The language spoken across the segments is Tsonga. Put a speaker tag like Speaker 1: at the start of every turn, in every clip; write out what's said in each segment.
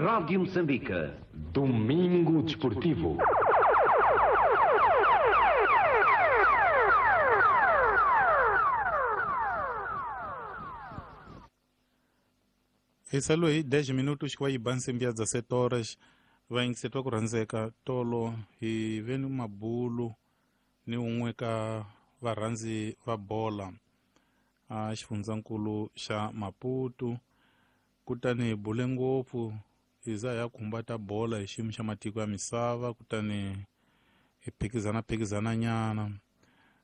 Speaker 1: Rádio Moçambique.
Speaker 2: Domingo Desportivo.
Speaker 3: Hi 10 minutos ku va yi ba nsimbi ya 17 horas va yingisetwa ku rhandzeka tolo hi ve ni mabulu ni un'we ka varhandzi va bola a xifundzankulu xa Maputo. Kutani hi bule ngopfu hi za ya khumba ta bola hi xiyimo xa matiko ya misava, kutani hi phikizana nyana.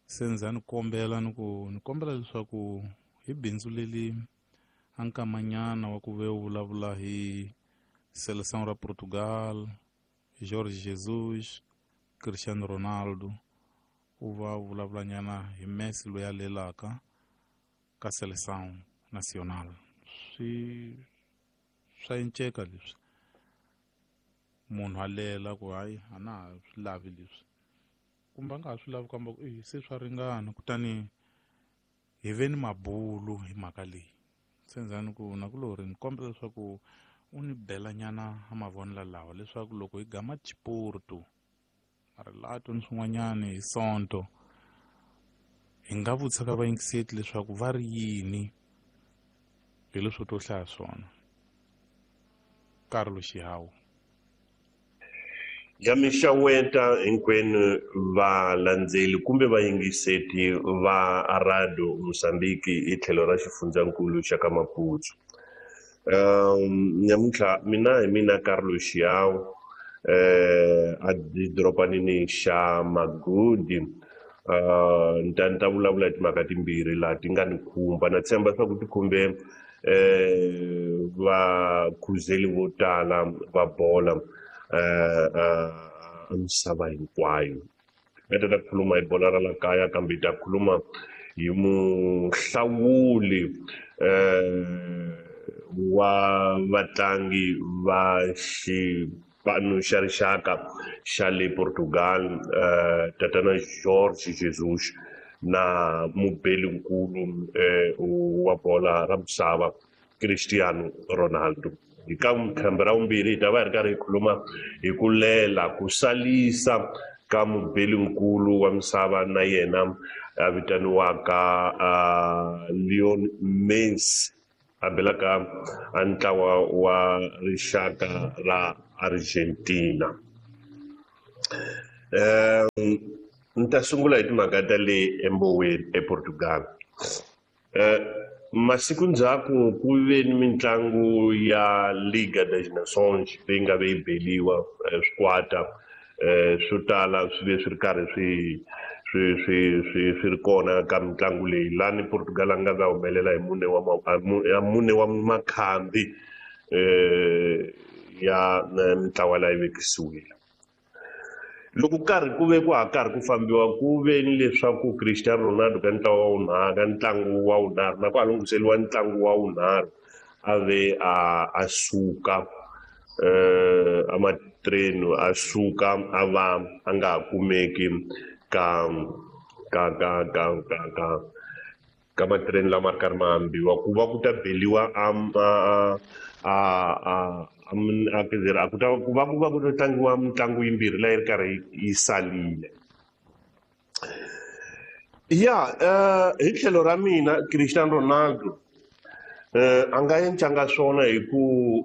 Speaker 3: Se ndza ni kombela ni ku ni kombela leswaku hi bindzu leli a nkamanyana wa ku ve u vulavula hi Seleção ra Portugal, Jorge Jesus, Cristiano Ronaldo, u va u vulavulanyana hi Messi loyi a lelaka ka Seleção Nacional. Swi swa enceka leswi munhu a lela ku hayi a na ha swi lavi leswi, kumbe a nga ha swi lavi kambe se swa ringana. Kutani hi ve ni mabulu hi mhaka leyi. Se ndzani ku nakulori ni kombela leswaku u ni belanyana a mavonelo lawa leswaku loko hi gama Chiporto marilato ni swin'wanyana hi Sonto hi nga vutisa ka vayingiseti leswaku va ri yini hi leswo to hlaya swona. Carlos Xihawu.
Speaker 4: Ya mixaweta hinkwenu valandzeli kumbe vayingiseti va Radio Mozambique hi tlhelo ra xifundzankulu xa ka Maputo. Nyamuntlha mina hi mina Carlos Xihawu a dorobanini xa Magudi. Ni ta vulavula hi timhaka timbirhi laha ti nga ni khumba, na tshemba leswaku ti khumbe vakhuzeli vo tala va bola misava hinkwayo. Hi ta khuluma hi bola ra la kaya, kambe hi ta khuluma hi muhlawuli wa vatlangi va xipano xa rixaka xa le Portugal, tatana Jorge Jesus, na mubelinkulu wa bola ra misava Cristiano Ronaldo. Hi ka khambi ra vumbirhi hi ta va hi ri karhi hi khuluma hi ku lela ku salisa ka mubelinkulu wa misava na yena a vitaniwaka Lionel Messi, a belaka a ntlawa wa rixaka ra Argentina. Ni ta sungula hi timhaka ta le emboweni ePortugal. Masiku ndzhaku ku ve ni mitlangu ya Liga das Nações leyi nga ve yi beliwa swikwata swo tala swi ve swi ri karhi swi ri kona ka mitlangu leyi, lani Portugal a nga va humelela hi mune wa makhambi ya mitlawa leyi vekisiwile. Loko karhi ku ve ku ha karhi ku fambiwa ku ve ni leswaku Cristiano Ronaldo ka ntlawa wa vunharhu, ka ntlangu wa vunharhu, na ku ha lunghiseriwa ntlangu wa vunharhu, a ve a suka a matreni a suka a va a nga ha kumeki ka ka ka ka ka ka ka matreni lama ri karhi ma hambiwa, ku va ku ta beliwa a ku ta ku va ku va ku ta tlangiwa mitlangu yimbirhi leyi ri karhi yi salile. Ya hi tlhelo ra mina Cristiano Ronaldo a nga encanga swona hi ku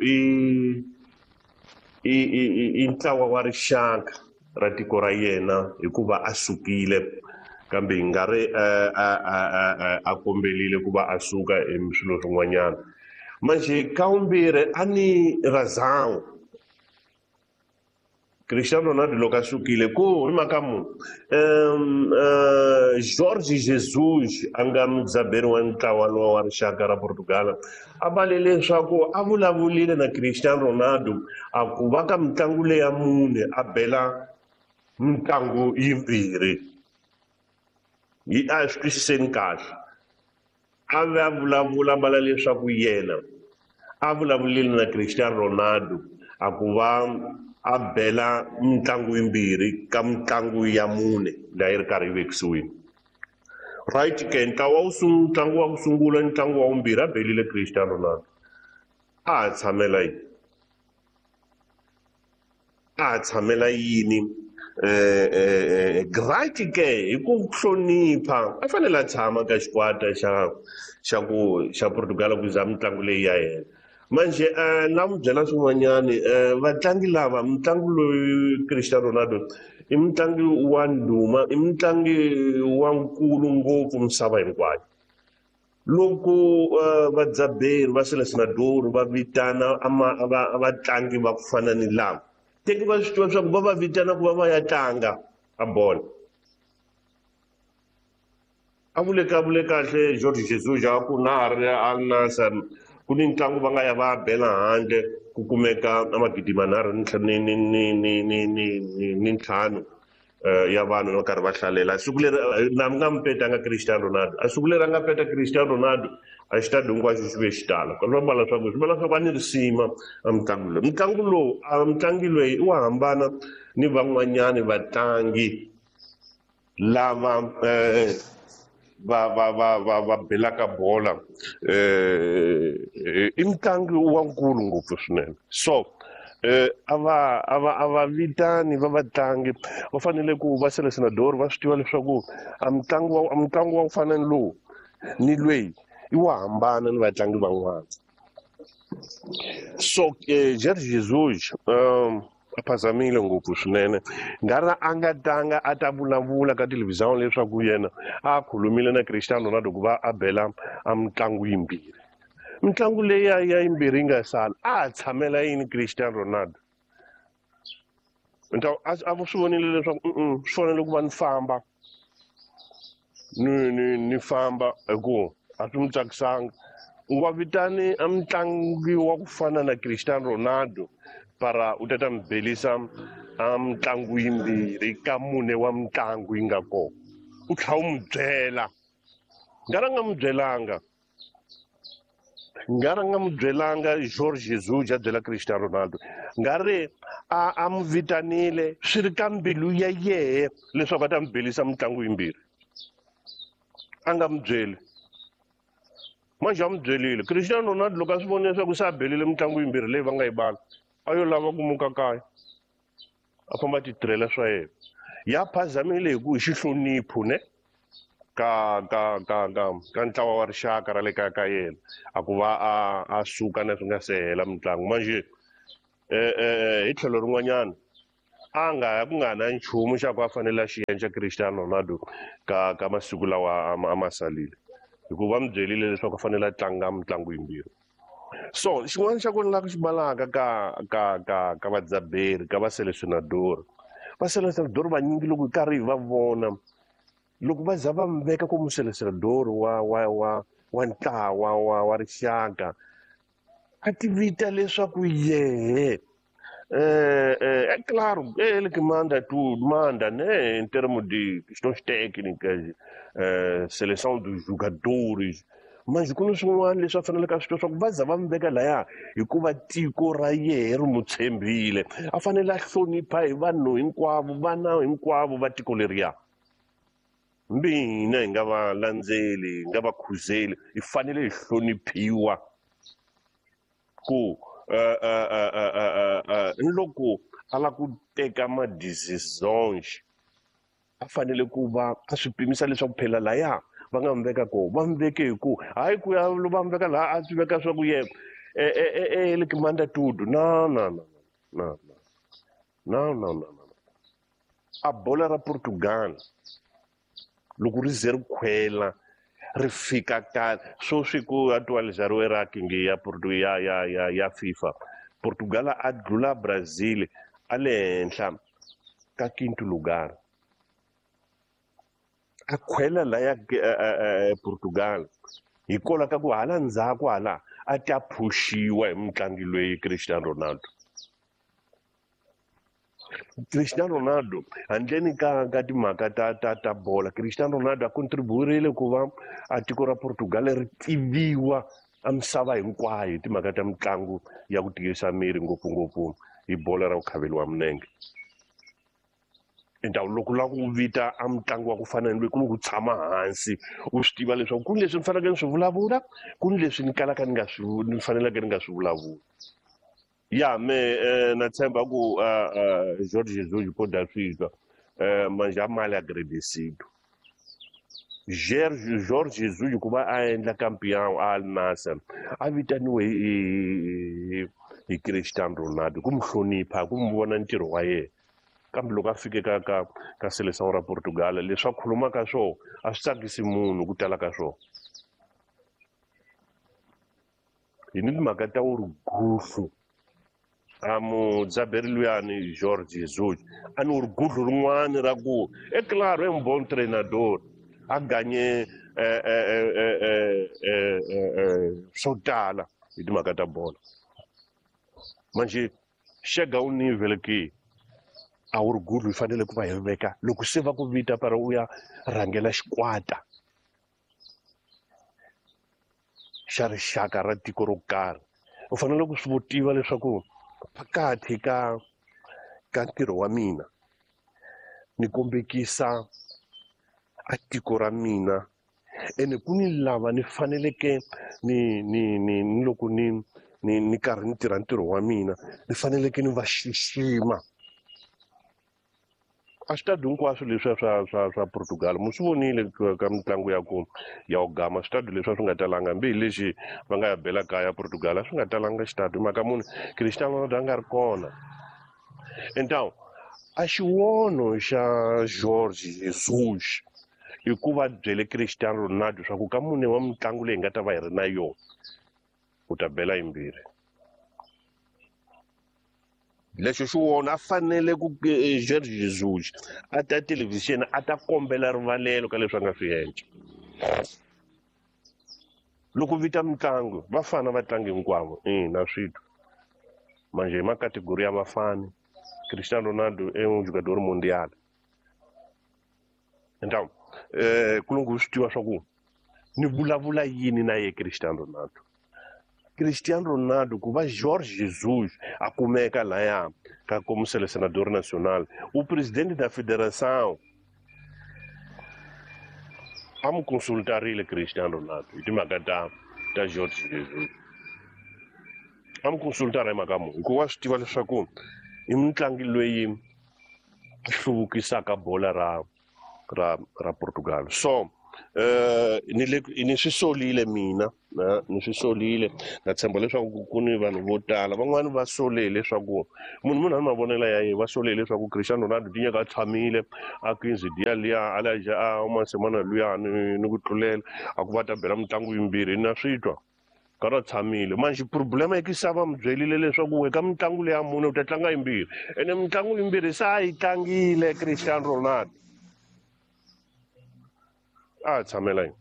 Speaker 4: i ntlawa wa rixaka ra tiko ra yena hikuva a sukile, kambe hi nga ri a kombelile ku va a suka hi swilo swin'wanyana. Manje ka vumbirhi a ni razão Cristiano Ronaldo loko a sukile ku hi mhaka munhu Jorge Jesus a nga mudzaberi wa ntlawa lowa wa rixaka ra Portugal a vale leswaku a vulavulile na Cristiano Ronaldo a ku va ka mitlangu leya mune a bela mitlangu yimbirhi. Hi a swi twisiseni kahle. A va vulavula mbala leswaku yena a vulavulile na Cristiano Ronaldo a ku va a bela mitlangu yimbirhi ka mitlangu ya mune leyi ri karhi yi vekisiwile. Right ke ntlangu wa ku sungula ntlangu wa vumbirhi a belile Cristiano Ronaldo. A ha tshamela yini? A tshamela yini right ke hi ku hlonipha a fanele a tshama ka xikwata xa Portugal ku za mitlangu leyi ya yena. Manje na n'wi byela swin'wanyani, vatlangi lava mutlangi loyi Cristiano Ronaldo i mutlangi wa ndhuma, i mutlangi wa nkulu ngopfu misava hinkwayo. Loko vadzaberi va selesenador va vitana vatlangi va ku fana ni lava, teki va swi tiva leswaku va va vitana ku va va ya tlanga a bolo. A vule kahle Jorge Jesus a ku na ha ri Al-Nassr ku ni ntlangu va nga ya va bela handle ku kumeka magidi manharhu ni ntlhanu ya vanhu va karhi va hlalela. Siku leri na nga mi petanga Cristiano Ronaldo, a siku leri a nga peta Cristiano Ronaldo a xitadi hinkwaxo xi ve xi tala. Swi vula leswaku a ni risima a mutlangi loyi. Mutlangi lowu a mutlangi loyi i wa hambana ni van'wanyani vatlangi lava va belaka bola. I mutlangi wa nkulu ngopfu swinene. So a va vitani va vatlangi va fanele ku va selesenador va swi tiva leswaku a mutlangi wa ku fana ni lowu ni lweyi i wa hambana ni vatlangi van'wana. So Jorge Jesus a phazamile ngopfu swinene. Ngari a nga tanga a ta vulavula ka televhizhoni leswaku yena a khulumile na Cristiano Ronaldo ku va a bela a mitlangu yimbirhi. Mitlangu leyi ya yimbirhi yi nga sala a tshamela yini Cristiano Ronaldo? A swi vonile leswaku swi fanele ku va ni famba ni famba hi ku a swi n'wi tsakisanga. U nga vitani a mutlangi wa ku fana na Cristiano Ronaldo para u ta ta mi belisa a mitlangu yimbirhi ka mune wa mitlangu yi nga kona, u tlhela u n'wi byela. Nga ri nga n'wi byelanga. Nga ri nga n'wi byelanga Jorge Jesus a byela Cristiano Ronaldo. Nga ri a n'wi vitanile swi ri ka mbilu ya yehe leswaku a ta n'wi belisa mitlangu yimbirhi. A nga n'wi byeli. Manje a n'wi byelile. Cristiano Ronaldo loko a swi vonile leswaku se a belile mitlangu yimbirhi leyi va nga yi bala, a yo lava ku muka kaya a famba titirhela swa yena. Ya phazamile hi ku hi xihlonipho ne ka ka ka ka ka ntlawa wa rixaka ra le kaya ka yena a ku va a suka na swi nga se hela mitlangu. Manje hi tlhelo rin'wanyana a nga ya ku nga na nchumu xa ku a fanele a xi endla Cristiano Ronaldo ka masiku lawa a ma salile, hikuva va n'wi byerile leswaku a fanele a tlanga mitlangu yimbirhi. So xin'wana xa kona la ku xi balaka ka ka ka ka vadzaberi ka va selesenador, va selesenador vanyingi loko hi karhi hi va vona loko va za va mi veka ku muselesenador wa wa wa wa ntlawa wa rixaka a ti vita leswaku yehe é claro, é ele que manda tudo, manda, né, em termos de questões técnicas, seleção dos jogadores. Mas ku ni swin'wana leswi a faneleke a swi tiva swa ku va za va mi veka laya hikuva tiko ra yehe ri n'wi tshembile, a fanele a hlonipha hi vanhu hinkwavo, vana hinkwavo va tiko leriya. Hambi hina hi nga va landzeli, hi nga va khuzeli, hi fanele hi hloniphiwa ku loko a lava ku teka ma-decisions a fanele ku va a swi pimisa leswaku phela laya va nga n'wi veka kona, va n'wi veke hi ku hayi ku ya va n'wi veka laha a swi veka swa ku yena ele que manda tudo. No, no, no, no, no, no, no, no. A bola ra Portugal loko ri ze ri khwela ri fika ka sweswi ku atualizariwe ranking ya ya ya ya ya FIFA, Portugal a dlula Brazil a le henhla ka quinto lugar. A khwela laya Portugal hikwalaho ka ku hala ndzhaku hala a ta phuxiwa hi mutlangi loyi Cristiano Ronaldo. Cristiano Ronaldo handleni ka timhaka ta bola, Cristiano Ronaldo a contribuirile ku va a tiko ra Portugal ri tiviwa a misava hinkwayo hi timhaka ta mitlangu ya ku tiyisa miri, ngopfungopfu hi bola ra ku khaveliwa minenge. Ndhawu loko la ku vita a mutlangi wa ku fana ni loyi ku ni ku tshama hansi u swi tiva leswaku ku ni leswi ni faneleke ni swi vulavula, ku ni leswi ni kalaka ni nga swi ni faneleke ni nga swi vulavuli. Ya me na tshemba ku Jorge Jesus po da swi twa manje a mali agradecido. Jorge Jesus ku va a endla campeão a Al Nassr a vitaniwe hi Cristiano Ronaldo ku mu hlonipha ku mu vona ntirho wa yena. Kambe loko a fike ka seleção ra Portugal leswi a khulumaka swona a swi tsakisi munhu ku tala ka swona. Hi ni timhaka ta orgulho a mudzaberi luyani Jorge Jesus a ni orgulho rin'wani ra ku é claro é um bom treinador a ganye swo tala hi timhaka ta bolo. Manje xega u nível ke a orgulho yi fanele ku va hi veka loko se va ku vita para u ya rhangela xikwata xa rixaka ra tiko ro karhi, u fanele ku swi tiva leswaku phakathi ka ntirho wa mina ni kombekisa a tiko ra mina ene ku ni lava ni faneleke ni loko ni karhi ni tirha ntirho wa mina ni faneleke ni va xixima. A switadi hinkwaswo leswiya swa Portugal mu swi vonile ka mitlangu ya ku ya u gama switadi leswiya swi nga talanga hambi hi lexi va nga ya bela kaya Portugal a swi nga talanga xitadi hi mhaka muni Cristiano Ronaldo a nga ri kona. Então a xivono xa Jorge Jesus i ku va byele Cristiano Ronaldo swa ku ka mune wa mitlangu leyi nga ta va hi ri na yona u ta bela yimbirhi. Lexo xi wona a fanele ku Jorge Jesus a ta televhixini a ta kombela rivalelo ka leswi a nga swi endla. Loko vita mitlangu vafana va tlangi hinkwavo na swi twa manje hi makategori ya vafani Cristiano Ronaldo é um jogador mundial. Então kulungu swi tiva swa ku ni vulavula yini na ye Cristiano Ronaldo. Cristiano Ronaldo ku va Jorge Jesus a kumeka laya ka como selecionador nacional, o presidente da federação a mu consultarile Cristiano Ronaldo hi timhaka ta Jorge Jesus. A mu consultara hi mhaka muni hikuva wa swi tiva leswaku i mutlangi loyi a hluvukisaka bola ra Portugal. So ni swi solile mina ni swi solile na tshemba leswaku ku ni vanhu vo tala van'wani va sole leswaku munhu a ni mavonelo ya yena va sole leswaku Cristiano Ronaldo tinyaka a tshamile a 15 dia liya a la ja a uma semana luya ni ku tlulela a ku va ta bela mitlangu yimbirhi na swi twa karhi a tshamile. Manje problema i ku va mu byerile leswaku we ka mitlangu leya mune u ta tlanga yimbirhi ene mitlangu yimbirhi se a yi tlangile Cristiano Ronaldo a tshamela yini.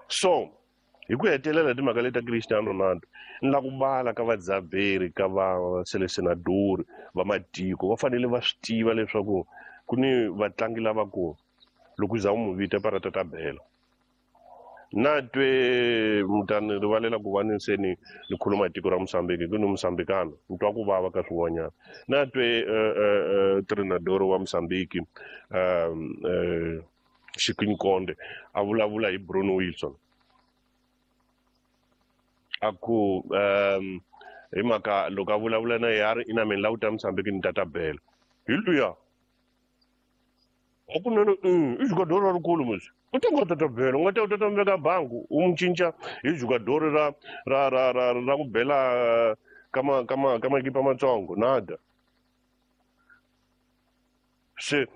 Speaker 4: So hi ku hetelela timhaka leti ta Cristiano Ronaldo ni la ku vala ka vadzaberi ka va selecionador va matiko va fanele va swi tiva leswaku ku ni vatlangi lava ku loko za u mu vita para ta bela. Na twe mutani rivalela ku va ni se ni khuluma hi tiko ra Mozambique ku ni Mozambicano ni twa ku vava ka swin'wanyana. Na twe treinador wa Mozambique Chiquinho Conde a vulavula hi Bruno Wilson a ku hi mhaka loko a vulavula na yena a ri ina mina la ku ta Mozambique ni ta bela hi luya a kunene i jogador ra rikulu musi u ta nga ta bela u nga ta u ta veka bangu u mu cinca hi jogador ra ku bela ka makipa matsongo nada. Se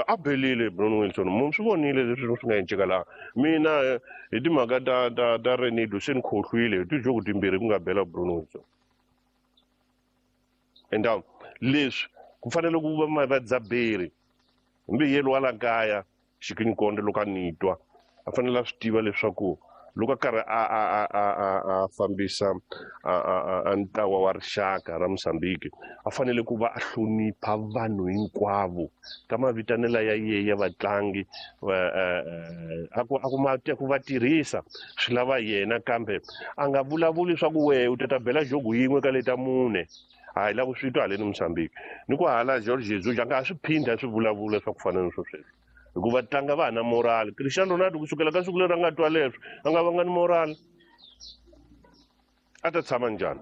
Speaker 4: a belile Bruno Wilson mu swi vonile leswi swi nga enceka laha mina hi timhaka ta Renido se ni khohlwile hi tijogo timbirhi ku nga bela Bruno Wilson. Então leswi ku fanele ku va vadzaberi hambi yelo wa la kaya Chiquinho Conde loko a ni twa a fanele a swi tiva leswaku loko a karhi a fambisa a ntlawa wa rixaka ra Mozambique a fanele ku va a hlonipha vanhu hinkwavo ka mavitanelo ya yena ya vatlangi a ku va tirhisa swi lava yena kambe a nga vulavuli swa ku we u ta bela jogo yin'we ka leta mune a hi la ku swi twa haleni Mozambique ni ku hala Jorge Jesus a nga ha swi phindha swi vulavula swa ku fana ni swo sweswo hikuva tlanga va ha na moral. Cristiano Ronaldo kusukela ka siku leri a nga twa leswo a nga vanga ni moral. A ta tshama njhani?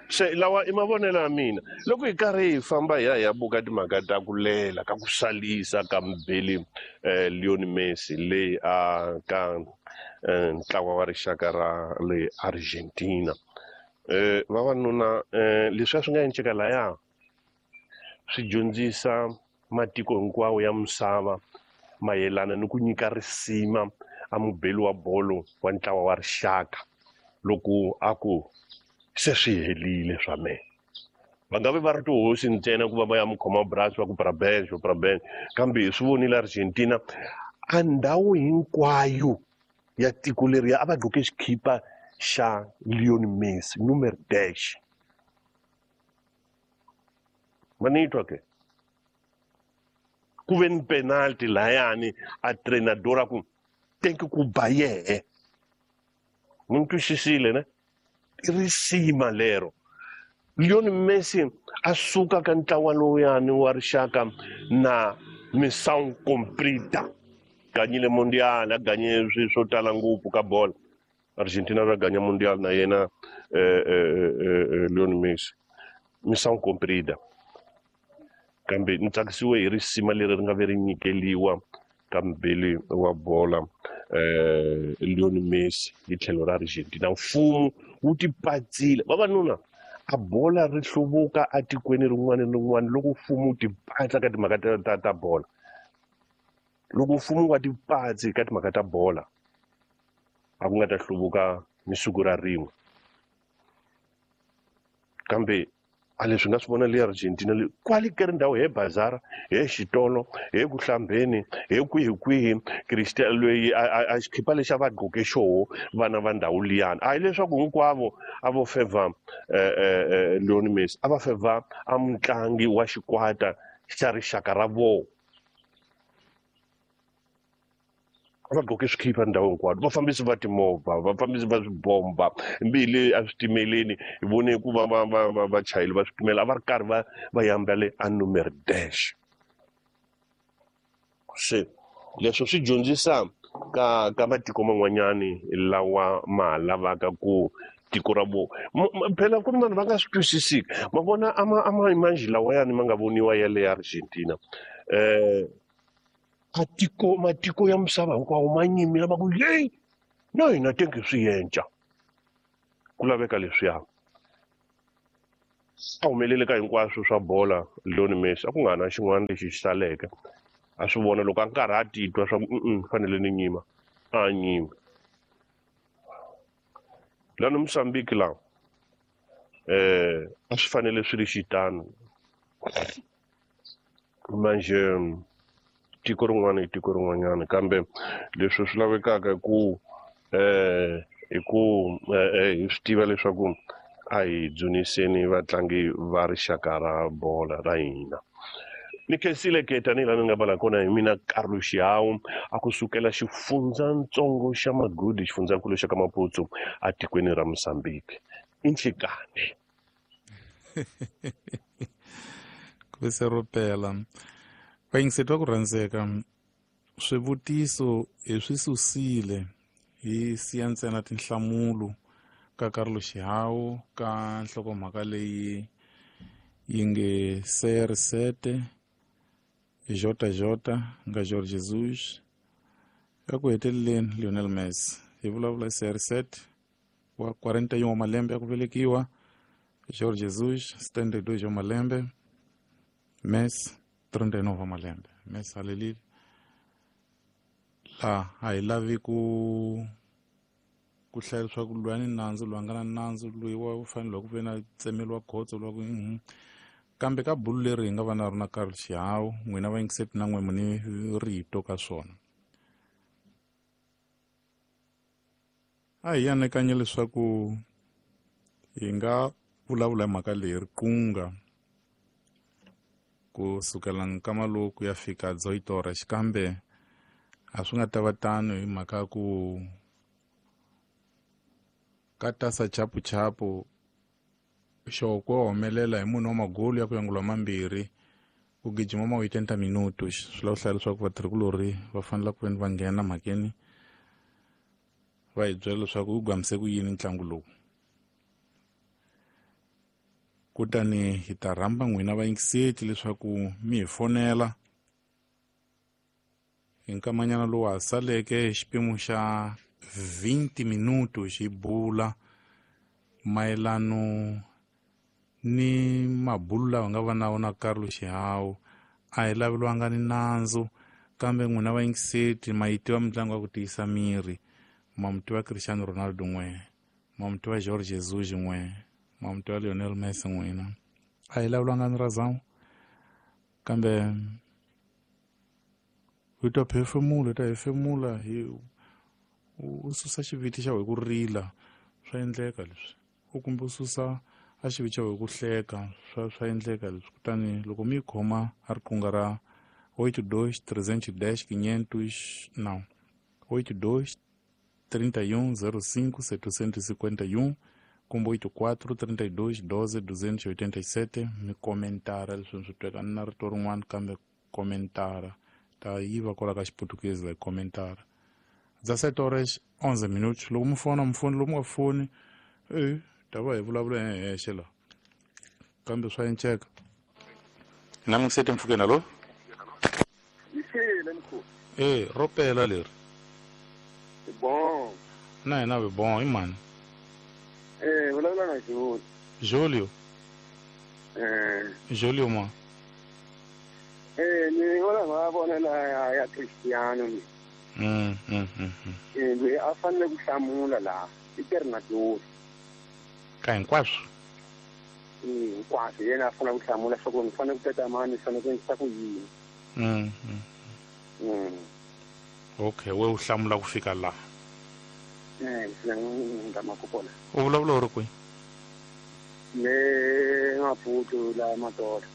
Speaker 4: Se lawa i mavonelo ya mina loko hi karhi hi famba hi ya hi ya buka timhaka ta ku lela ka ku salisa ka mubeli Lionel Messi leyi a ka ntlawa wa rixaka ra le Argentina. Vavanuna leswi a swi nga endleka laya swi dyondzisa matiko hinkwawo ya misava mayelana ni ku nyika risima a mubeli wa bolo wa ntlawa wa rixaka loko a ku se swi helile swa mehe. Va nga vi va ri tihosi ntsena ku va va ya mukhoma brasi va ku parabéns parabéns, kambe hi swi vonile Argentina a ndhawu hinkwayo ya tiko leriya a va gqoke xikhipa xa Lionel Messi numero 10. Ma ni twa ke? Ku ve ni penalty layani a treinador a ku tenki ku ba yehe. Mi ni twisisile ne? I risima lero. Lionel Messi a suka ka ntlawa lowuyani wa rixaka na missão cumprida. Ganyile mundial, a ganye swilo swo tala ngopfu ka bolo. Argentina va ganya mundial na yena Lionel Messi. Missão cumprida. Kambe ni tsakisiwe hi risima leri ri nga ve ri nyikeliwa ka mubeli wa bola Lionel Messi hi tlhelo ra Argentina. Mfumo wu tipatsile. Vavanuna, a bola ri hluvuka atikweni rin'wana ni rin'wana loko mfumo wu tipatsa ka timhaka ta bola. Loko mfumo wa tipatsi ka timhaka ta bola, a ku nga ta hluvuka ni siku ra rin'we. Kambe a leswi nga swi vona le Argentina le kwale ka ri ndhawu he bazara, he xitolo, he ku hlambeni, he kwihi kwihi, Cristiano loyi a xikhipa lexi a va gqoke xoho vana va ndhawu liyani. A hi leswaku hinkwavo a vo favor Lionel Messi, a va favor a mutlangi wa xikwata xa rixaka ra vona. Va gqoke swikhipa ndhawu hinkwayo, vafambisi va timovha, vafambisi va swibomba, mbili a switimeleni hi vone ku va va va va vachayeri va switimela a va ri karhi va va yambale a numero dash. Se leswo swi dyondzisa ka matiko man'wanyani lawa ma ha lavaka ku tiko ra vona. Phela ku ri vanhu va nga swi twisisiki. Ma vona a ma manjhe lawayani ma nga voniwa ya le Argentina. Atiko matiko ya misava hinkwawo ma nyimile ma ku yeyi na hina tenke swi yenca. Ku laveka leswiya. A humelele ka hinkwaswo swa bola Lionel Messi a ku nga na xin'wana lexi xi saleke. A swi vona loko a nkarhi a titwa swa ku fanele ni nyima, a nyima. Lani Mozambique laha a swi fanele swi ri xitano. Manje tiko rin'wana i tiko rin'wanyana, kambe leswi swi lavekaka ku hi ku hi swi tiva leswaku a hi dzuniseni vatlangi va rixaka ra bola ra hina. Ni khensile ke tanihi laha ni nga vala kona hi mina Carlos Xihawu a ku sukela xifundzatsongo xa Magudi, xifundzankulu xa ka Maputo atikweni ra Mozambique. I nhlikani.
Speaker 3: Ku se ro pela. Vayingiseti va ku rhandzeka, swivutiso hi swi susile hi siya ntsena tinhlamulo ka Carlos Xihawu ka nhlokomhaka leyi yi nge CR7 JJ nga Jorge Jesus eku heteleleni Lionel Messi. Hi vulavula CR7 wa 41 wa malembe ya ku velekiwa, Jorge Jesus 72 wa malembe, Messi 39 wa malembe. Messi halelile la a hi lavi ku hlaya leswaku loyi a ni nandzu, loyi a nga na nandzu, loyi wa fanele ku ve na tsemeliwa khotso loyi ku kambe ka bulu leri hi nga va na rona Carlos Xihawu, n'wina vayingiseti na n'we mu ni rito ka swona. A hi anakanye leswaku hi nga vulavula hi mhaka leyi riqunga ku sukela nkama lowu ku ya fika Dzoyitora, xikambe a swi nga ta va tano hi mhaka ku ka tasa chapuchapu xoko wa humelela hi munhu wa magolu ya ku yangula mambirhi ku gijima ma 80 minutos. Swi lava ku hlaya leswaku vatirhikulorhi va fanele ku veni va nghena mhakeni va hi byela leswaku wu gamise ku yini ntlangu lowu. Kutani hi ta rhamba n'wina vayingiseti leswaku mi hi fonela hi nkamanyana lowu ha saleke xipimo xa 20 minuto xi bula mayelano ni mabulu lawa nga va na wona Carlos Xihau. A hi laveliwanga ni nandzu, kambe n'wina vayingiseti ma yi tiva mitlangu ya ku tiyisa miri. Ma mu tiva Cristiano Ronaldo n'we, ma mu tiva Jorge Jesus n'we, ma mu tiva Lionel Messi n'wina. A hi laveliwanga ni razão, kambe hi ta phefemula, hi ta hefemula, hi u susa xiviti xa wena ku rila, swa endleka leswi. U kumbe u susa a xiviti xa wena ku hleka, swa endleka leswi. Kutani loko mi yi khoma a riqingho ra 82 310 500, não, 82 31 05 751 kumbe 84 32 12 287, mi komentara leswi swi tweka ni na rito rin'wana, kambe komentara ta yiva kwala ka xiputukezi la komentara. 17 horas 11 minutos. Loko mi fona mi foni, loko mi nga foni ta va hi vulavula hi hexe la, kambe swa enceka. Na mi sete mpfhukeni. Alo, ro pela leri.
Speaker 1: Bon.
Speaker 3: Na hina vi bon. I mani?
Speaker 1: Vulavula na Julio.
Speaker 3: Julio? Julio ma?
Speaker 1: Ni vona mavonelo ya Cristiano ni. Loyi a fanele ku hlamula laha i Ternador.
Speaker 3: Ka hinkwaswo?
Speaker 1: Hinkwaswo yena a fanele ku hlamula swa ku ni fanele ku teka mani, ni fanele ku endlisa ku yini.
Speaker 3: Okay, we u hlamula ku fika laha.
Speaker 1: Kona.
Speaker 3: U vulavula u ri kwihi?
Speaker 1: Le Maputo la Matola.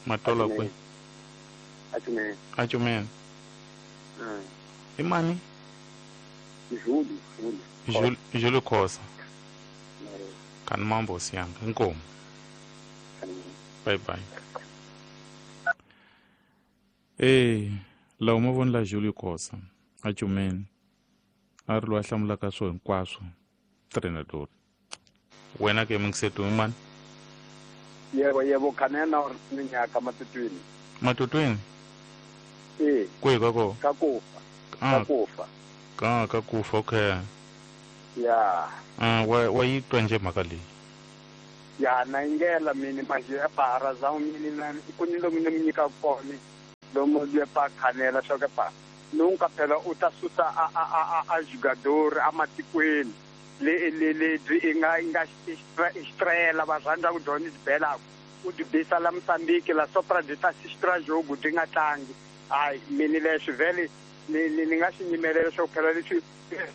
Speaker 3: Matola kwihi?
Speaker 1: Achumeni.
Speaker 3: Achumeni. I mani?
Speaker 1: Julio.
Speaker 3: Julio Khosa. Kani mambo siyanga. Inkomo. Bye bye. Lawa ma vona la Julio Khosa Achumeni a ri loyi a hlamulaka swo hinkwaswo treinador. Wena ke mingisetu i mani?
Speaker 1: Yebo, yebo, khanena uri minyaka Matutwini.
Speaker 3: Matutwini? Kwihi ka kona?
Speaker 1: Ka kufa. Ka kufa.
Speaker 3: Ka kufa, okay.
Speaker 1: Ya.
Speaker 3: Wa yi twa njhe mhaka leyi?
Speaker 1: Ya, na ingela mini manje pa razão mini na ku ni lomu ni mi nyika kona lomu le pa khanela swa ke pa nunca phela u ta susa a jogador a matikweni le le le inga estrela va rhandza ku dyondza bela u dibisa la Mozambique la sopra de ta sistra jogo di nga tlangi. Ai mini leswi vele ni nga xi nyimelela swo phela leswi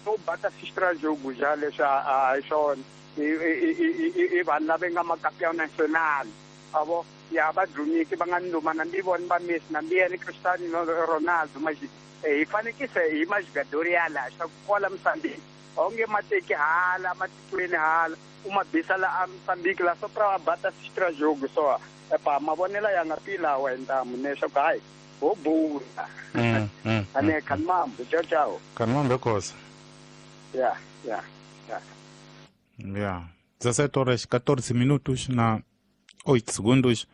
Speaker 1: u bata sistra jogo ja leswi a hi swona i vanhu lava nga makampeão nacional avo ya va dumiki va nga nduma na mbi vona va Messi na mbi yena Cristiano Ronaldo mas hi fanekise hi majogador ya la swa ku kola Mozambique onge mateki hala matikweni hala u mabisa la Mozambique la sopra va bata sistra jogo so epa mavonelo ya nga pila wa ntamu ne swa ku hayi ho bula ane kanmambo ciao ciao.
Speaker 3: Kanmambo Khosa.
Speaker 1: Ya ya ya.
Speaker 3: Ya. 17 horas 14 minutos na 8 segundos.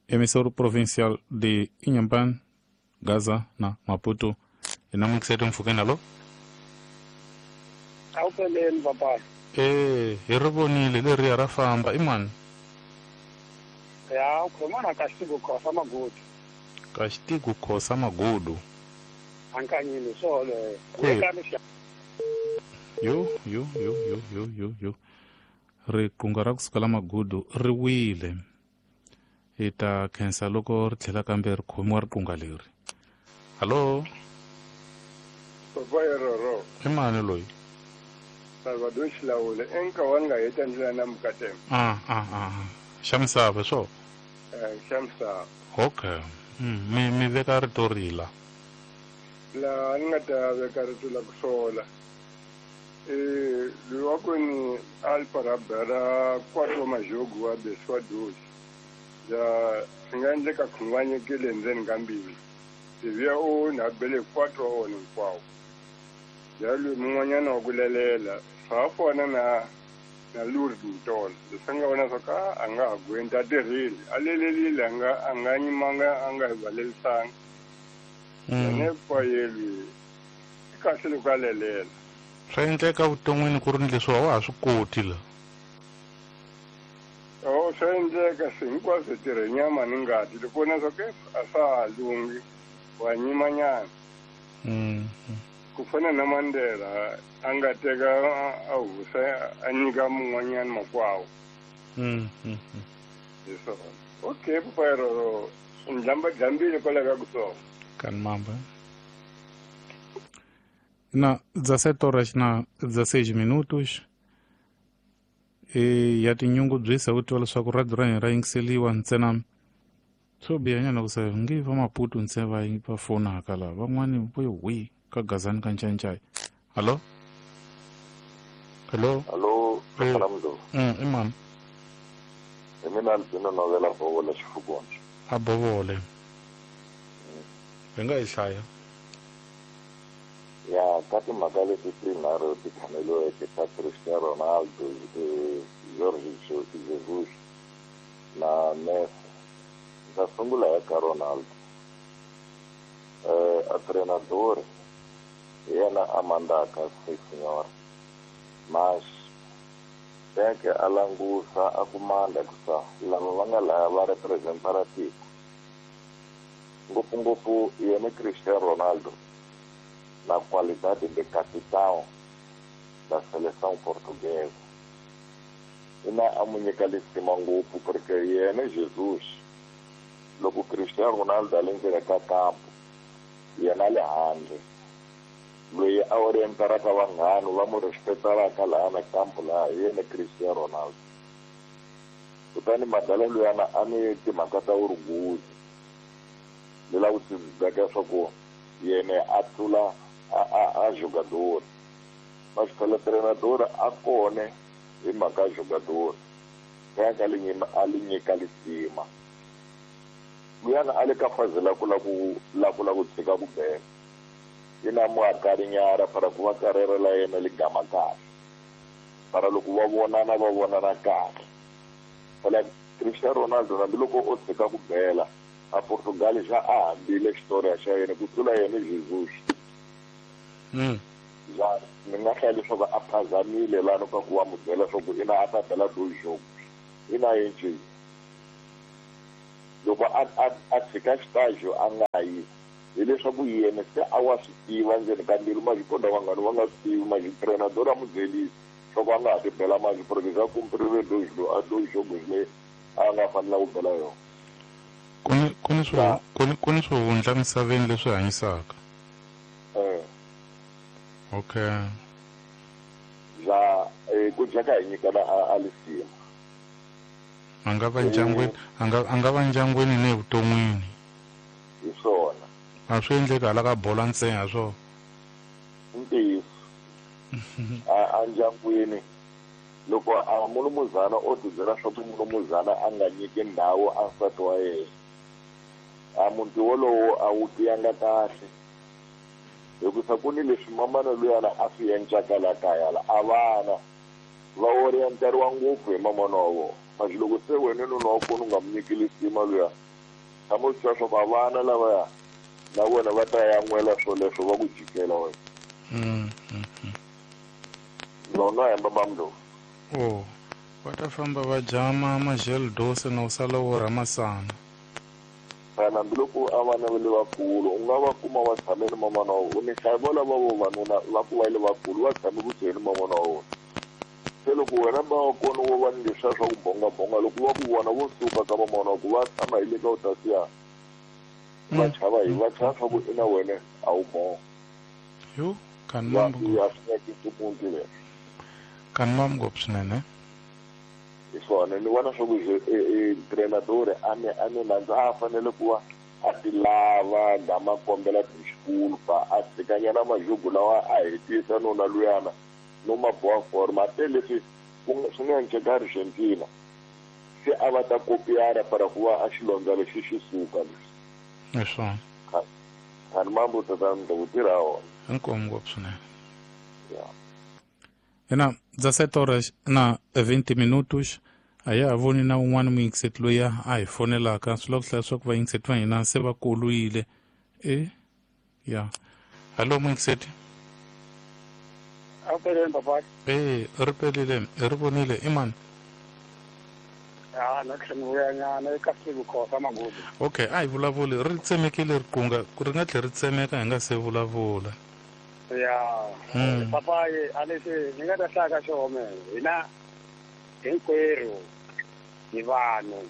Speaker 3: Emissora provincial de Inhambane, Gaza na Maputo. Ina mukisete mfukeni. Alo?
Speaker 1: Awupheleni papa.
Speaker 3: Hi ri vonile leriya ra famba. I mani?
Speaker 1: Ya, ukhuluma na Kashtigu Khosa Magudu.
Speaker 3: Kashtigu Khosa Magudu.
Speaker 1: Ankanyini solo.
Speaker 3: Yo yo yo yo yo yo yo. Riqingho ra kusuka la Magudu ri wile. Hi ta khensa loko ri tlhela kambe ri khomiwa riqingho leri. Hallo?
Speaker 5: Papa roro.
Speaker 3: I mani loyi?
Speaker 5: Salvador Xilawule enka wa nga heta ndlela na Mukatema.
Speaker 3: Xa misava swo?
Speaker 5: Xa misava.
Speaker 3: Okay. Mi veka rito rila.
Speaker 5: La ni nga ta veka rito la ku sola. Loyi wa kweni alparabera 4 majogo wa beswa 12. Ya swi nga endleka khunguvanyekile endzeni ka mbilu. Iviya u na bele 4 wa wona hinkwawo. Ya loyi mun'wanyana wa ku lelela swa ha fana na Na Lourdes Mtolo leswi nga vona swa ka a nga ha gwenti a tirhile a lelelile a nga nyimanga a nga hi valelisanga yena payelwi i kahle loko a lelela.
Speaker 3: Swa endleka vuton'wini ku ri ni leswi wa ha swi koti la.
Speaker 5: O swa endleka swi hinkwaswo tirhe nyama ni ngati loko vona swa ku a swa ha lunghi wa nyimanyana. Ku fana na Mandela a nga teka a husa a nyika mun'wanyana makwawo. Hi swona. Okay papa roro ndlamba dlambile kwala ka kusonga.
Speaker 3: Kan mamba. Na 17 horas na 16 minutos. E ya tinyungubyisa ku twa leswaku radio ra hina ra yingiseliwa ntsena swo bihanyana ku se nge va Maputo ntsena va fonaka laha van'wani vo hwi ka gazani ka ncancai. Hallo? Hello?
Speaker 6: Hallo, Salamdo.
Speaker 3: I mani?
Speaker 6: Hi mina Albino Novela Bovole Xifukundzu.
Speaker 3: A Bovole. Hi nga yi hlaya.
Speaker 6: Ya ka timhaka leti tinharhu ti khaneliweke ta Cristiano Ronaldo, Jorge Jesus na Messi. Ndza sungula hi ka Ronaldo. A treinador hi yena a mandaka se senhora. Mas teke a langusa a ku manda ku sa lava va nga laya va representara tiko. Ngopfungopfu yena Cristiano Ronaldo na qualidade de capitão da seleção portuguesa. Ina a mu nyika lisima ngopfu porque yena Jesus loko Cristiano Ronaldo a le ndzeni ka kampo yena le handle loyi a orientaraka vanghana va mu respetaraka laha na kampo laha hi yena Cristiano Ronaldo. Kutani madala luyana a ni timhaka ta orgulho ni lava ku tibeka swa ku yena a tlula a jogador. Mas phela treinador a kone hi mhaka jogador kaya a li nyika lisima. Luyana a le ka faze la ku la ku tshika ku bela ina mu akarinyara para ku va karere la yena li gama kahle para loko va vonana kahle. Phela Cristiano Ronaldo hambiloko o tshika ku bela a Portugal xa a hambile xitori xa yena ku tlula yena Jesus. Ja ni nga hlaya leswaku a phazamile lano ka ku va mu byela swa ku ina a ta bela do jogo ina yenje loko a tshika xitajo a nga yi hileswaku yena se a wa swi tiva ndzeni ka mbilu maxikonda vanghani va nga swi tivi maxitrenador a mu byelisi swa ku a nga ha ti bela maxi porque za kumpirile do jogo leyi a nga fanela ku bela yona.
Speaker 3: Ku ni swihundla misaveni leswi hanyisaka. Okay.
Speaker 6: Ja ku jaka hi nyikana a lisima.
Speaker 3: A nga va ndyangwini, a nga va ndyangwini ni evuton'wini.
Speaker 6: Hi swona.
Speaker 3: A swi endleki hala ka bola ntsena swo.
Speaker 6: Ntiyiso. A ndyangwini loko a mulumuzana o tibyela swa ku mulumuzana a nga nyiki ndhawu a nsati wa yena. A muti wolowo a wu tiyanga kahle. Hikusa ku ni leswi mamana luyana a swi endlaka la kaya la a vana va orienteriwa ngopfu hi mamana wa vona. Mas loko se wena nuna wa kona u nga mu nyiki lisima luya tshama u swi tiva swa ku a vana lavaya na vona va ta yan'wela swoleswo va ku jikela wena. Lona hemba bamdo.
Speaker 3: Oh, va ta famba va jama magel dose na u sala wo rha masana.
Speaker 6: Hambiloko a vana va le vakulu u nga va kuma va tshame ni mamana wa vona. Ni hlaya vo lava vavanuna va ku va le vakulu va tshame kusuhi ni mamana wa vona. Se loko wena ba wa kona wo va ni leswiya swa ku bongabonga loko va ku vona vo suka ka mamana wa ku va tshama hi le ka u tasiya va chava hi va chava swa ku ina wena a wu bonga.
Speaker 3: Yo, kan mambo.
Speaker 6: Ya swi nyakisi muti leswi.
Speaker 3: Kan mambo swinene.
Speaker 6: Hi swona ni vona swa ku treinador a ni landza a fanele ku va a ti lava gama kombela disculpa a tshikanyana majogo lawa a hetisa nuna luyana no ma boa forma te leswi swi nga endleka Argentina se a va ta kopiara para ku va a xilondza lexi xi suka leswi.
Speaker 3: Hi swona.
Speaker 6: Kan mambo tatana ku tirha wona.
Speaker 3: Inkomu ngopfu swinene.
Speaker 6: Ya.
Speaker 3: Ina 17 horas na 20 minutos. A ya ha voni na un'wana muyingiseti loyi a hi fonelaka. Swi lava ku hlaya leswaku vayingiseti va hina se va kolwile. E ya. Hallo muyingiseti.
Speaker 1: A peleni papa.
Speaker 3: E ri pelile, ri vonile i mani?
Speaker 1: Ya na tlhela nyana eka siku khosa magudu.
Speaker 3: Okay, a hi vulavuli ri tsemekile riqunga, ri nga tlhela ri tsemeka hi nga se vulavula.
Speaker 1: Ya. Papa a lexi ni nga ta hlaya ka xona hina hinkwerhu hi vanhu.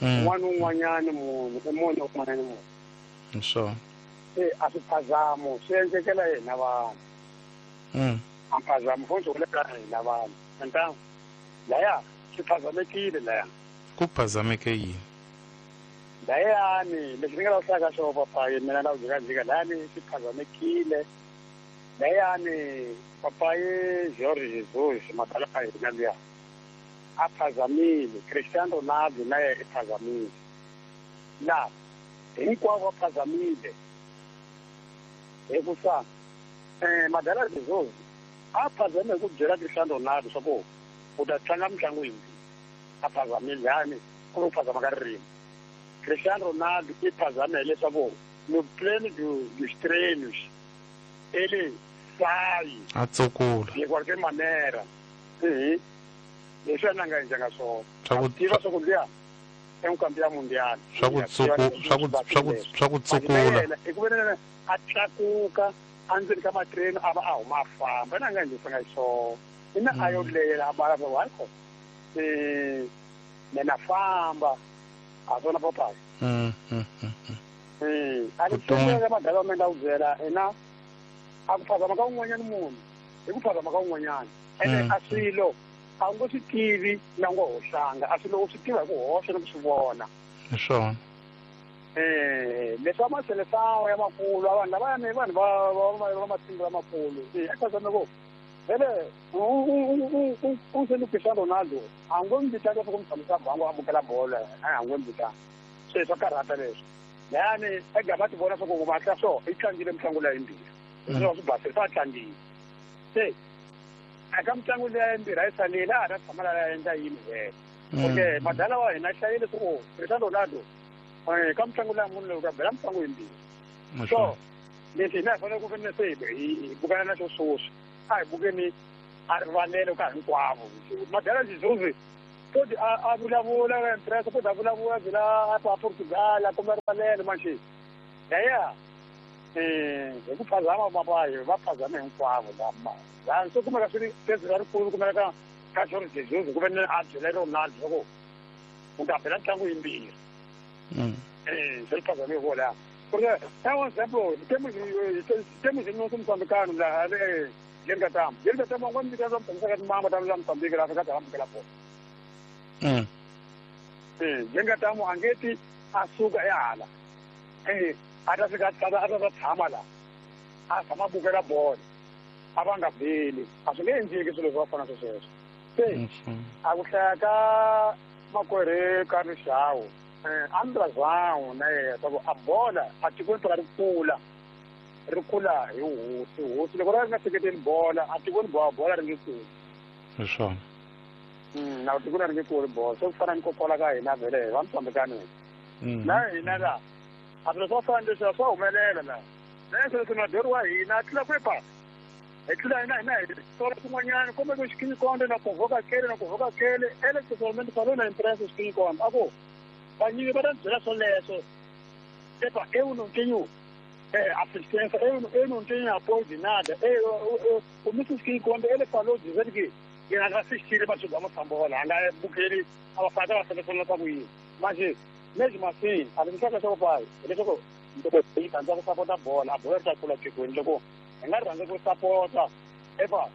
Speaker 1: Un'wana un'wanyani munhu i munhu un'wanyani munhu.
Speaker 3: Sure.
Speaker 1: Se a swi phazamo swi endlekela hina vanhu. A phazamo fo swi hulela hina vanhu. Ntangu laya swi phazamekile laya.
Speaker 3: Ku phazameke yini?
Speaker 1: Layani leswi ni nga ta hlaya ka xona papayi mina na ku jikajika layani swi phazamekile. Layani papayi Jorge Jesus madala a hina luya a phazamile. Cristiano Ronaldo na yena i phazamile. La hinkwavo va phazamile. Hikusa madala Jesus a phazame hi ku byela Cristiano Ronaldo swa ku u ta tlanga mitlangu yimbirhi. A phazamile yani ku ri ku phazama ka ririmi. Cristiano Ronaldo i phazame hileswaku no pleno dos treinos ele sai
Speaker 3: a tsukula
Speaker 1: de qualquer maneira. Leswi a nga endlanga swona. Tiva swa ku luya i mukambi mundial.
Speaker 3: Swa ku tsukula.
Speaker 1: I ku veni a tlakuka endzeni ka matreni a va a huma a famba na nga endlisanga swona. Ina a yo lela a bala va hayi ko. Mina famba a swona papayi. A ni tsundzuka madala wa mina ku byela ina a ku phazama ka un'wanyana munhu hi ku phazama ka un'wanyana. Ene a swilo a wu ngo swi tivi na ngo hoxanga, a swilo u swi tiva hi ku hoxa ni ku swi vona.
Speaker 3: Hi swona.
Speaker 1: Leswi va maselesawa ya makulu a vanhu lavayani vanhu va matimba lamakulu. A phazame ku vele u se ni Cristiano Ronaldo a ngo mi vitana leswaku mi tshamisa bango a amukela bolo, a ngo mi vitana. Se swa karhata leswi. Layani ega va ti vona swa ku va tla so i tlangile mitlangu leyi yimbirhi. Leswi swi basile swa tlangile. Se eka mitlangu leyi yimbirhi a yi salile a ha ta tshama laha endla yini vhele. Okay, madala wa hina hlayile swa ku Cristiano Ronaldo ka mitlangu leyi munhu loyi ka bela mitlangu yimbirhi. So leswi hina hi fanele ku veni se hi bukana na xo swoswi. A hi bukeni a rivalelo ka hinkwavo. Madala Jesus kodi a vulavula ka impresa, kodi a vulavula byela a Portugal a komba rivalelo manjhe. Yaya hi ku phazama papayi va phazame hinkwavo lama. Laha se kumeka swi ri pezi ra rikulu kumeka ka Jorge Jesus ku veni a byela Ronaldo swa ku u ta bela ntlangu yimbirhi. Se ri phazame hi vona. Porque é um exemplo, temos nosso moçambicano lá, Yengatamo. Yengatamo ngwa mbi kaza mtsamisa ka mama ta la Mozambique la ka ta amukela bolo. Yengatamo angeti a suka ehala. A ta fika a ta tshama la. A tshama bukela bolo. A va nga beli. A swi nge endleki swilo swo fana sweswo. Se a ku hlaya ka makwerhu ka Rixawu. Andrazao na yena swa ku a bola a tikweni phela ri kula. Ri kula hi hosi hosi loko ri nga seketeli bola a tikweni bola ri nge kuli.
Speaker 3: Hi swona.
Speaker 1: Na tikweni ri nge kuli bola se ku fana ni kokola ka hina vhele va Mozambique na hina la a swilo swo fana leswi swa humelela la na leswi madori wa hina a tlula kwepa hi tlula hina hina hi sola swin'wanyana kumbe ku xikinyikonde na kuvoka kele na kuvoka kele ele totalmente falou na imprensa xikinyikonde a ku vanyingi va ta byela swoleswo epa eu não tenho assistência, eu não tenho apoio de nada. O Mrs. King, quando ele falou, dizendo que ele não assistir, mas vamos embora, porque ele estava selecionando mas mesmo assim, a gente sabe que o pai, ele jogou, ele está bola, a bola está com a ele jogou, ele não sapota, epa,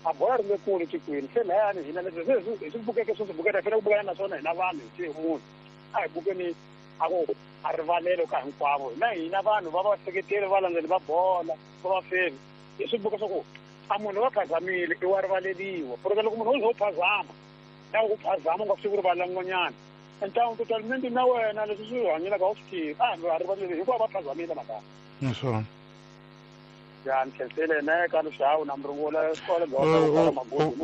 Speaker 1: a bola não com o Chico, ele sei lá, ele não porque que só porque era o na zona, na vale, tinha muito. Ah, porque ni a rivalelo ka hinkwavo na hina vanhu va va seketeli va landzeli va bola va va feli hi swi buka swa ku a munhu va phazamile i wa rivaleliwa porque loko munhu wo ze u phazama na ku phazama u nga swi ku rivalela n'wanyana ntangu totalmente na wena leswi swi hanyelaka a wu swi tivi a hambi va rivaleli hinkwavo va phazamile mhaka.
Speaker 3: Hi swona.
Speaker 1: Ya nkhensile ne ka luxawu na mrungula xikolo bya Magudu.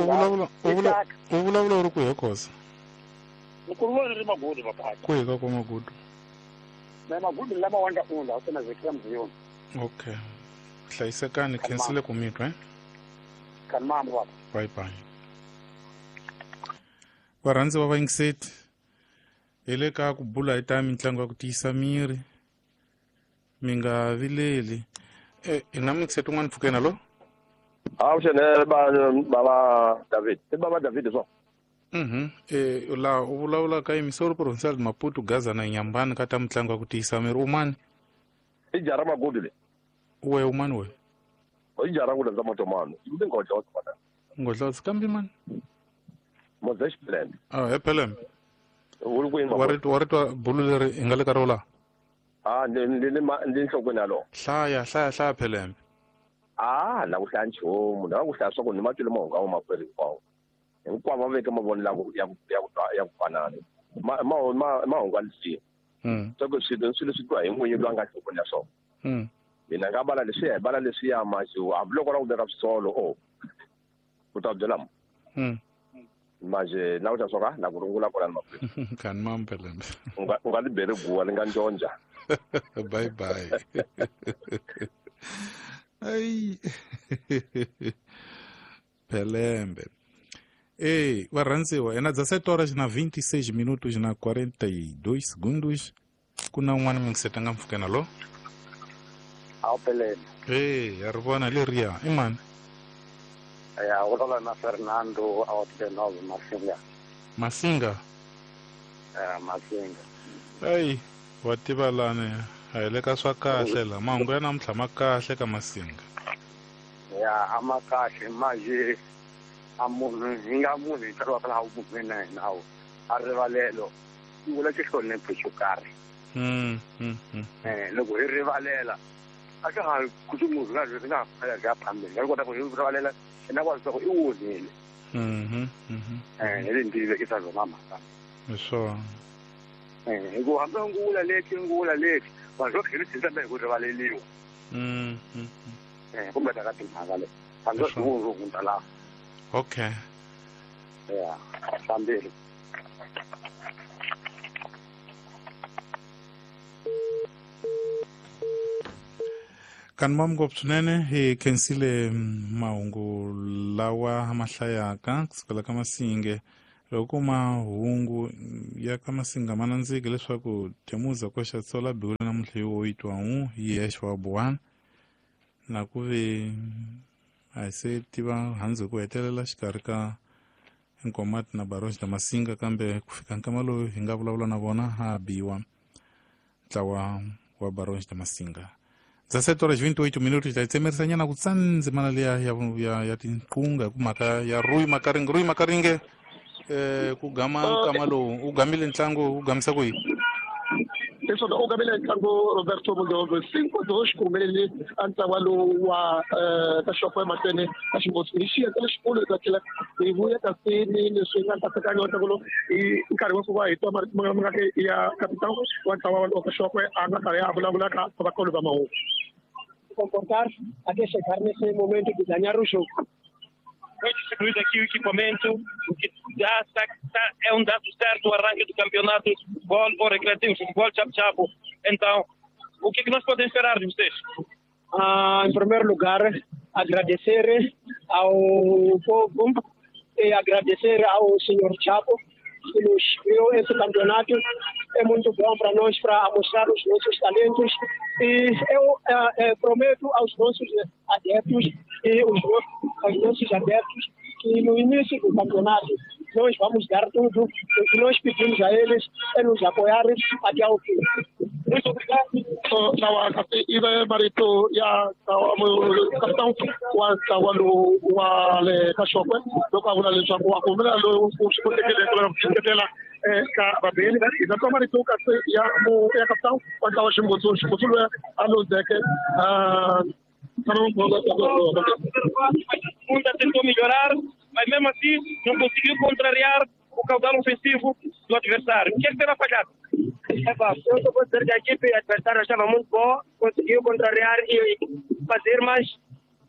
Speaker 3: U vulavula u ri kwihi Khosa?
Speaker 1: Nkulumo ri Magudu papa.
Speaker 3: Kwihi ka kwa Magudu?
Speaker 1: Na Magudu lama wanga unda usena zekira mziyoni.
Speaker 3: Okay. Hlayisekani, khensile ku mitwa eh?
Speaker 1: Kan mambo papa.
Speaker 3: Bye bye. Varhandzi va vayingiseti hi le ka ku bula hi ta mitlangu ya ku tiyisa miri mi nga vileli. Hi na muyingiseti un'wana pfukeni alo?
Speaker 7: Avuxeni baba David. I baba David swo?
Speaker 3: Laha u vulavula ka Emissor Provincial de Maputo Gaza na Nyambani ka ta mitlangu ya ku tiyisa miri. U mani?
Speaker 7: I jara Magudu le.
Speaker 3: We u mani we?
Speaker 7: I jara ku landza matomano. I ndi ngodlotsa bana.
Speaker 3: Ngodlotsa kambe mani?
Speaker 7: Moses Pelembe.
Speaker 3: Ah, he Pelembe.
Speaker 7: U ri kwini?
Speaker 3: Wa ri twa bulu leri hi nga le ka rona?
Speaker 7: Ah, ndi nhlokweni yalowo.
Speaker 3: Hlaya hlaya hlaya Pelembe.
Speaker 7: Ah, na ku hlaya nchumu, na ku hlaya swa ku ni matwile mahungu a makwerhu hinkwawo. Hinkwavo va veke mavonelo ya ku fanana. Mahungu a lisiwa. Swa ku swilo swi twa hi n'winyi loyi a nga nhlokweni ya swona. Mina nga bala leswiya hi bala leswiya manje hambiloko la ku veka swisolo o u ta byela mo. Manje na ku ta swa na ku rungula kona ni makwerhu.
Speaker 3: Kan mam Pelembe.
Speaker 7: U nga li beri guwa li nga njonja.
Speaker 3: Bye bye. Ai. Pelembe. Ei, varhandziwa, ena 17 horas na 26 minutos na 42 segundos. Ku na un'wana muyingiseti a nga mpfukeni alo?
Speaker 1: Awu Pelembe.
Speaker 3: Ei, ya ri vona leriya i mani?
Speaker 1: Ya, vulavula na Fernando Aotenov Masinga.
Speaker 3: Masinga?
Speaker 1: Masinga.
Speaker 3: Ei, wa tiva lani a hi le ka swa kahle la mahungu ya namuntlha ma kahle ka Masinga.
Speaker 1: Ya, a ma kahle manje a munhu hi nga munhu hi tsariwaka laha vun'wini na hina a rivalelo i vula xihlonipho xo karhi. Loko hi rivalela a swa ha kuti munhu nga ri nga ha ya phambili nga kota ku hi rivalela na kwa leswaku i onhile. Hi le ndzi vekisa byona mhaka.
Speaker 3: Hi swona.
Speaker 1: Hikuva hambi u ngula leti vanhu va tlhela tshemba hi ku rivaleliwa. Kumbe ta ka timhaka leti hambi u hundza laha.
Speaker 3: Okay.
Speaker 1: Ya, fambile.
Speaker 3: Kan mam ngopfu swinene hi khensile mahungu lawa ma hlayaka kusukela ka Masinge. Loko mahungu ya ka Masinga ma nandziki leswaku Temuza koxa tsola biwile namuntlha hi 8 wa yexe wa buwana na ku ve a hi se tiva handzu ku hetelela xikarhi ka Nkomati na Barons da Masinga kambe ku fika nkama lowu hi nga vulavula na vona ha biwa ntlawa wa Barons da Masinga. 17 horas 28 minutos ta tsemerisanyana ku tsandzimana liya ya tinqunga hi ku mhaka ya Rui Makaringe. Rui Makaringe ku gama nkama lowu u gamile ntlangu u gamisa ku yini?
Speaker 8: Leswaku u gamile ntlangu Roberto Mudogo 5-2 ku humelele a ntlawa lowu wa ka xoko emahlweni ka Ximotsu hi xiyenge lexikulu hi ta tlhela hi vuya kasi ni leswi nga nkatsakanyo wa ntlangu lowu hi nkarhi wa ku va hi twa marito ma nga ya kapitán wa ntlawa wa ka Xokwe a nga karhi a vulavula ka vakolo va mahungu.
Speaker 9: Comportar até chegar nesse momento de ganhar o jogo.
Speaker 10: Foi distribuído aqui o equipamento, o que dá, é um dado certo o arranque do campeonato de futebol ou recreativo, futebol chapo-chapo. Então, o que é que nós podemos esperar de vocês?
Speaker 9: Em primeiro lugar, agradecer ao povo e agradecer ao senhor Chapo que nos criou esse campeonato. É muito bom para nós, para mostrar os nossos talentos. E eu prometo aos nossos adeptos e aos nossos adeptos que no início do campeonato nós vamos dar tudo. O que nós pedimos a eles é nos apoiarem até ao fim.
Speaker 8: Muito obrigado. Ibe marito ya capitão wa ntlawa lowu wa le ka Xokwe loko a vula leswaku wa kumela lowu u swi kotekile ku seketela ka vabeli hi ta twa marito kasi ya capitão wa ntlawa Ximotsu Ximotsu loyi a luzeke.
Speaker 10: Segunda tentou melhorar, mas mesmo assim não conseguiu contrariar o caudal ofensivo do adversário. O que é que terá falhado?
Speaker 9: Eu só vou dizer que a equipe adversária estava muito boa, conseguiu contrariar e fazer mais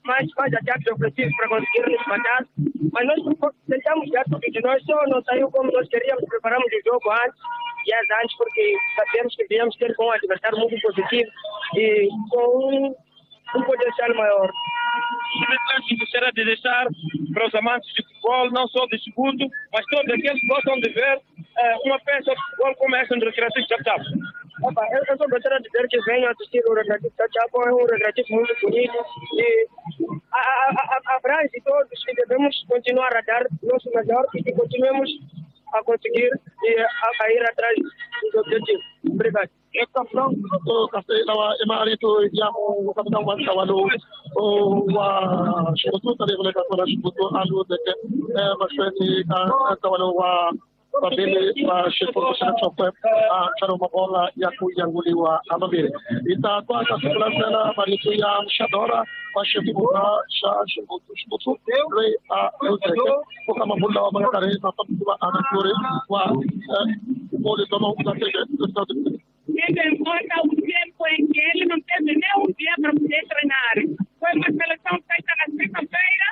Speaker 9: mais ataques ofensivos para conseguir nos matar. Mas nós tentamos dar tudo de nós, só não saiu como nós queríamos. Preparamos o jogo antes, dias antes, porque sabemos que devíamos ter com um adversário muito positivo e com um potencial maior.
Speaker 10: Que gostaria de deixar para os amantes de futebol, não só de segundo, mas todos aqueles que gostam de ver uma peça de futebol como essa no Recreativo Chap Chap.
Speaker 9: Eu só gostaria de dizer que venham assistir o Recreativo Chap Chap, é um recreativo muito bonito e abrange todos que devemos continuar a dar nosso melhor e que continuemos a conseguir e a ir atrás dos objetivos. Obrigado.
Speaker 8: Vavili va xifundzha xa Tlokwe a ntlhanu mabola ya ku yanguliwa hamambirhi hi ta twa ka siku landzela marito ya Mxadora wa xifundzha xa Xivutsu loyi a luzeke ku ka mabulu lawa ma nga karhi ma fambisiwa anatori wa vukoli bya mahungu.
Speaker 11: Tendo em conta o tempo em que ele não teve nem um dia para poder treinar. Foi uma seleção feita na sexta-feira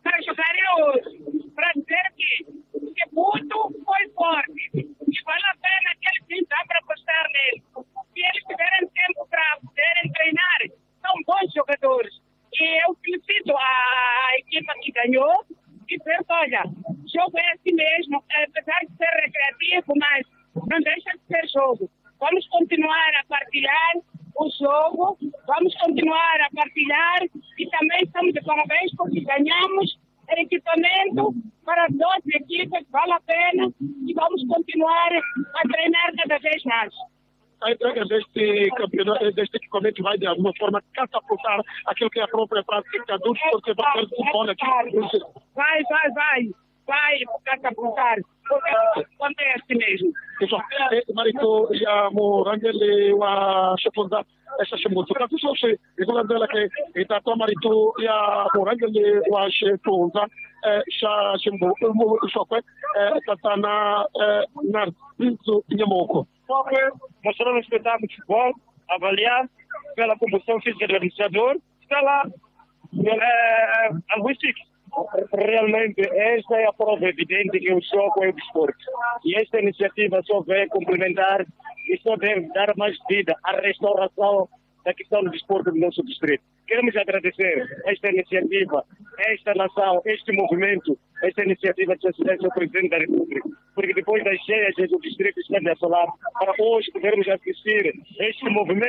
Speaker 11: para jogar hoje. Para dizer que o Chibuto foi forte e vale a pena que ele sim dá para apostar nele. Se eles tiverem tempo para poderem treinar, são bons jogadores. E eu felicito a equipa que ganhou e penso, olha, jogo é assim mesmo, apesar de ser recreativo, mas não deixa de ser jogo. Vamos continuar a partilhar o jogo, vamos continuar a partilhar e também estamos de parabéns porque ganhamos equipamento para 12 equipas, vale a pena e vamos continuar a treinar cada vez mais.
Speaker 8: A entrega deste campeonato, deste equipamento vai de alguma forma catapultar aquilo que é a própria prática do desporto futebol aqui.
Speaker 11: Vai catapultar. Acontece mesmo.
Speaker 8: Pessoal, marito ya murangeli wa xifundzha xa Xivutsu kasi sweswi hi ku landzela ke hi ta twa marito ya murhangeri wa xifundzha xa Tlokwe tatana Narciso Nyamuko.
Speaker 10: Tlokwe mostrou um espetáculo de futebol, avaliar pela composição física do administrador, está lá alguns tiques. Realmente, esta é a prova evidente que o jogo é o desporto. E esta iniciativa só vem complementar e só deve dar mais vida à restauração da questão do desporto do nosso distrito. Queremos agradecer esta iniciativa, esta nação, este movimento, esta iniciativa de assistência ao Presidente da República, porque depois das cheias do distrito está de assolar, para hoje podermos assistir este movimento.